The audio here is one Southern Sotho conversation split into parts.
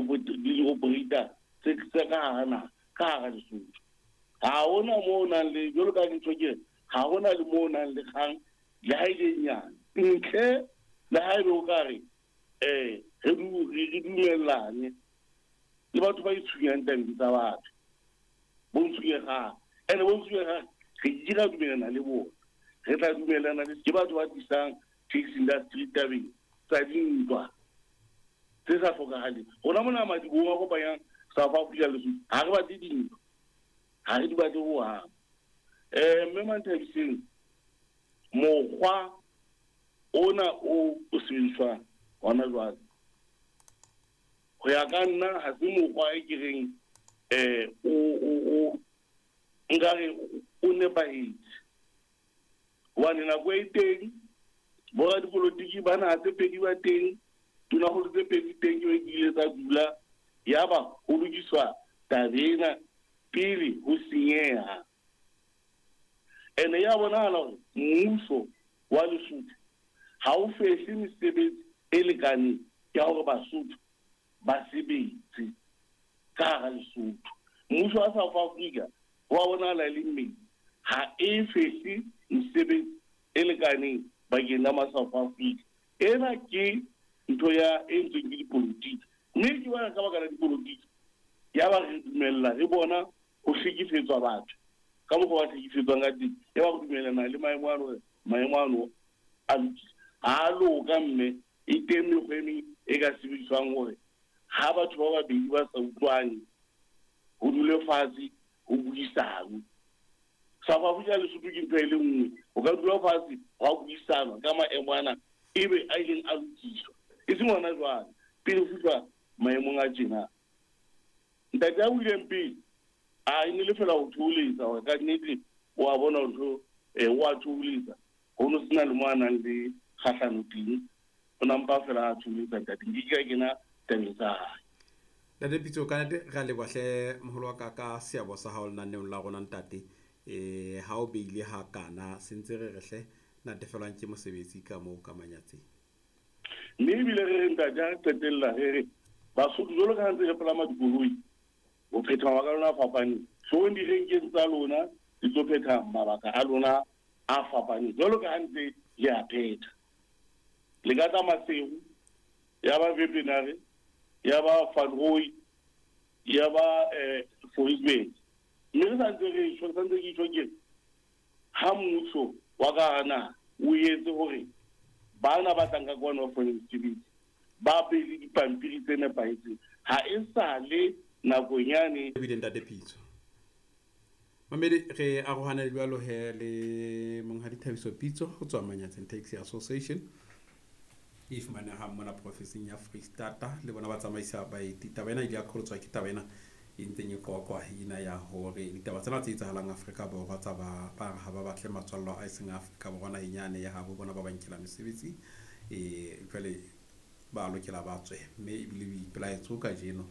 di-operator tse ka hara naha, ka hara Lesotho. Ha hona moo o nang le jwalo ka ntho ke ha hona le moo o nang le kgang le ha e le nyane. Ntle le ha ebe o ka re re dumellane le batho ba itshunyang tabeng tsa batho. Bo ntshunyehang. Ene bo ntshunyehang re ke ra dumellana le bona. Re tla dumellana le ke batho ba tlisang taxi industry tabeng tsa dintwa tse sa hlokahaleng. Rona mona madibohong a kopanyang South Africa le Lesotho, ha re batle dintwa. Ha re di batle hohang. Mme Manthabiseng, mokgwa ona o sebediswang hona jwale, ho ya ka nna ha se mokgwa e ke reng o nkare o nepahetse. Hobane nako e teng boradipolotiki ba naha tse pedi ba teng, tonakgolo tse pedi teng ke be ile tsa dula yaba ho lokiswa taba ena pele ho senyeha. Ene ya bonahala hore mmuso wa Lesotho ha o fehle mesebetsi e lekaneng ya hore Basotho ba sebetse ka hara Lesotho. Mmuso wa South Africa wa bonahala e le mmedi, ha e fehle mesebetsi e lekaneng bakeng la ma South Africa. Ena ke ntho ya e ntsweng ke dipolotiki, mme ke bona ka baka la dipolotiki ya ba re dumella re bona ho hlekefetswa batho ka mokgwa ba hlekefetswang ka teng, ya ba re dumellana le maemo ano hore maemo ano a lokile. Ha a loka, mme e teng mekgwa e meng e ka sebediswang hore ha batho ba babedi ba sa utlwane ho dule fatshe ho buisanwe. South Africa le Lesotho ke ntho e le nngwe, o ka dula fatshe hwa buisanwa ka maemo ana ebe a ileng a lokiswa, e seng hona jwale pele ho fihlwa maemong a tjena. Ntate a buileng pele a e ne le fela ho thoholetsa hore ka nnete o a bona ntho o a thoholetsa, ho no sena le mo a nang le kgahlano teng, o nampa fela a thoholetsa ntate, nke ke ka kena tabeng tsa hae. Ntate Pitso, ka nnete re a leboha hle moholo wa ka ka seabo sa hao lenaneong la rona ntate. Ha o beile ha kana se ntse re re hle natefelwang ke mosebetsi ka moo ka Manyatseng. Mme ebile re re ntate ha re qetella re re Basotho jwalo ka ha ntse re palama dikoloi ho phetha mabaka a lona a fapaneng, hloohong direnkeng tsa lona di tlo phetha mabaka a lona a fapaneng jwalo ka ha ntse le a phetha. Le ka tla Maseru, ya ba Wepener, ya ba Van Rooi, ya ba Fouriesburg. Mme re santse re tjho, re santse ke tjho ke ha mmuso wa ka hara naha o etse hore bana ba tlang ka kwano ba fumane mesebetsi, ba be le dipampiri tse nepahetseng, ha e sale nakong yane. Ebile ntate Pitso, mamedi re arohane jwalo he le monghadi Thabiso Pitso ho tswa Manyatseng Taxi Association e fumanehang mona profenseng ya Freistata. Le bona ba tsamaisa baeti. Taba ena ile ya qholotswa ke taba ena e ntseng e qoqwa ena ya hore ditaba tsena tse etsahalang Afrika Borwa tsa ba ba re ha ba batle matswallo a seng Afrika Borwa naheng yane ya habo bona ba ba nkela mesebetsi, jwale ba lokela ba tswe. Mme ebile boipelaetso kajeno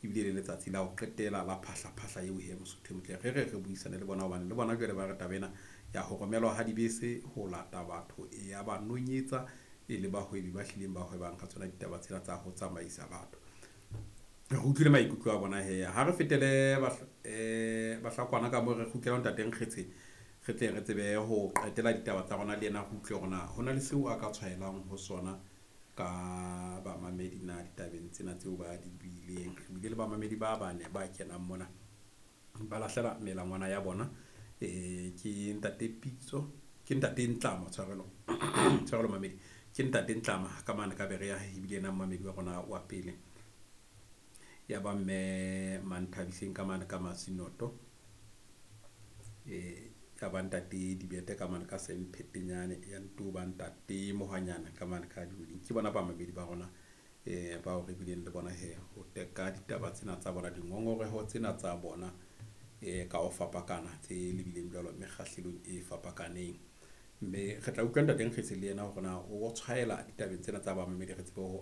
ebile le letsatsi la ho qetela la phahla-phahla eo he Mosotho e motle re re re buisane le bona, hobane le bona jwale ba re taba ena ya ho romelwa ha dibese ho lata batho e ya ba nonyetsa e le bahwebi ba hlileng ba hwebang ka tsona ditaba tsena tsa ho tsamaisa batho. Re utlwile maikutlo a bona he. Ha re fetele Bahlakwana ka moo re kgutlela ho ntate Nkgetse, re tle re tsebe ho qetela ditaba tsa rona le yena, re utlwe hore na ho na le seo a ka tshwaelang ho sona ka bamamedi na ditabeng tsena tseo ba di buileng. Re bile le bamamedi ba bane ba kenang mona ba lahlela melangwana ya bona. Ke ntate Pitso, ke ntate Ntlama, tshwarelo tshwarelo mamedi, ke ntate Ntlama ka mane ka Berea, ebile ena mamedi wa rona wa pele. Ya ba mme Manthabiseng ka mane ka Masinoto, ya ba ntate Dibete ka mane ka Semphetenyane, ya nto ba ntate Mohwanyana ka mane ka Dihoding. Ke bona bamamedi ba rona bao re bileng le bona he ho teka ditaba tsena tsa bona, dingongoreho tsena tsa bona ka ho fapakana tse lebileng jwalo mekgahlelong e fapakaneng. Mme re tla utlwa ntate Nkgetse le yena hore na o tshwaela ditabeng tsena tsa bamamedi, re tsebe ho